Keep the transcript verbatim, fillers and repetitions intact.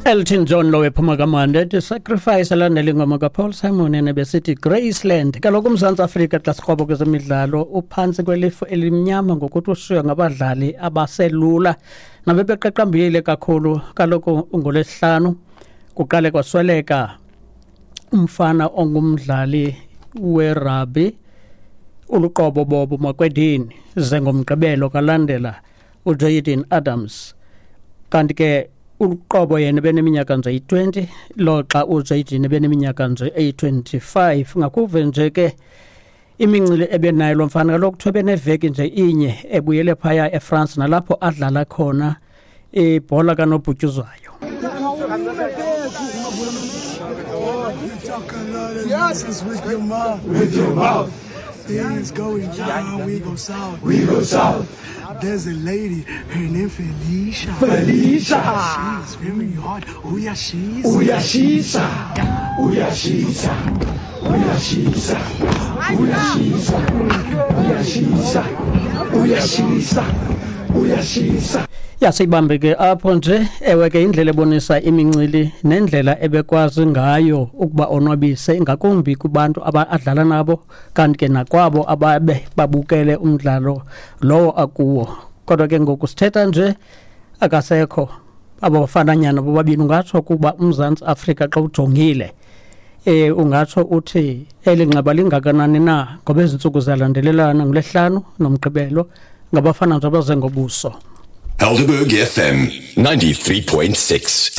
Elton John lo ephuma kamandi ethi "Sacrifice", elandela ingoma kaPaul Simon enebesithi "Graceland". Kaloku uMzantsi Afrika xa sikrobo kwezemidlalo uphantsi kwelifu elimnyama ngokuthi ushiywe ngabadlali abaselula nabebeqaqambile kakhulu. Kaloku ngolwesihlanu kuqale kwasweleka umfana ongumdlali werugby uLuqobo Bobo Makwedini, ze ngomgqibelo kalandela uJayden Adams. Kanti ke uLuqobo yena beneminyaka nje eyi-twenty, loxa uJayden ebeneminyaka nje eyi-twenty-five. Ngakuve nje ke imincili ebenayo lo mfana, kaloku kuthiwa beneveki nje inye ebuyele phaya eFrance nalapho adlala khona ibhola kanobhutyuzwayo. With your mouth. With your mouth. Things going down, we go south. We go south. There's a lady, her name Felicia. Felicia. She's very hot. Uyashisa. Uyashisa. Uyashisa. Uyashisa. Uyashisa. Uyashisa. Uyashisa. Uyashisa. Yasibambe ke apho nje. Ewe ke, indlela ebonisa imincili nendlela ebekwazi ngayo ukuba onwabise, ingakumbi kubantu abadlala nabo, kanti ke nakwabo ababe babukele umdlalo lowo akuwo. Kodwa ke ngoku sithetha nje akasekho abo bafananyana bobabini. Ungatsho kuba uMzantsi Afrika xa ujongile eh ungatsho uthi eli nxeba lingakanani na, ngoba ezi ntsuku ziyalandelelana, ngolwesihlanu nomgqibelo, ngabafana nje abaze ngobuso. Helderberg F M ninety-three point six.